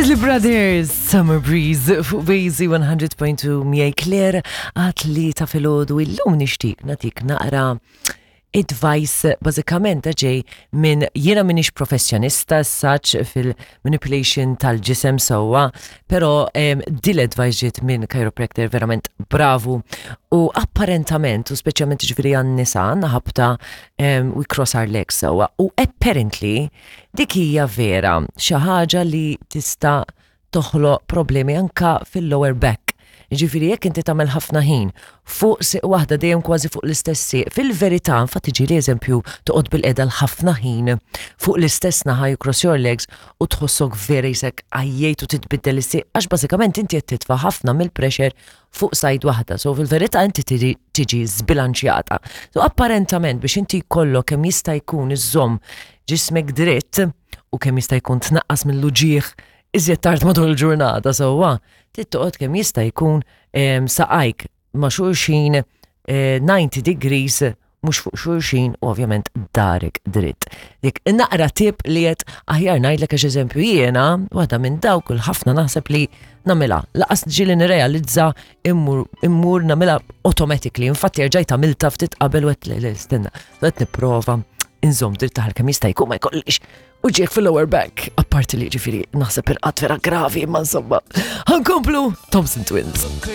Isley Brothers, Summer Breeze fuq Bazy 100.2 miegħi Claire għat li ta' filgħodu illum nixtieq nagħtik naqra advice bażikament ġej minn jiena minix professjonista saċ fil-manipulation tal-ġisem sewwa, però dil advice ġiet minn chiropractor verament bravu u apparentament u speċjalment ġifieri għan-nisa għandna ħabta we cross our legs sewwa u apparently Dik hija vera xi ħaġa li tista' toħloq problemi anka fil-lower back. Ġifieri jekk inti tagħmel ħafna ħin fuq siq waħda dejjem kważi fuq l-istess siq, fil-verità infatti ġieli eżempju toqgħod bil-qeda l-ħafna ħin fuq l-istess naħa you cross your legs u tħossok vera jisek għajjejt u titbiddel is-siq għax bażikament inti qed titfa' ħafna mill-pressure fuq sajd waħda. So fil-verità inti tiġi zbilanċjata. So apparentament biex inti jkollok kemm jista' jkun iżżomm ġismek dritt u kemm jista' jkun tnaqqas mill-uġigħ iżjed tard matul il-ġurnata sewwa, trid toqgħod kemm jista' jkun saqajk ma' xulxin 90 eh, degrees mhux fuq xulxin u ovvjament darek dritt. Dik naqra tip li qed aħjar ngħidlek għax eżempju jiena waħda minn dawk il-ħafna naħseb li nagħmilha. Laqas ġieli nirrealizza immur immur nagħmilha automatically. Infatti rġajt għamilta ftit qabel u qed le stenna, qed nipprova inżomm dritt taħal kemm jista' jkun ma jkollix u ġiek fil-lower back. Apparti li ġifieri naħseb irqad vera gravi imma insomma. Ħankomplu Thompson Twins.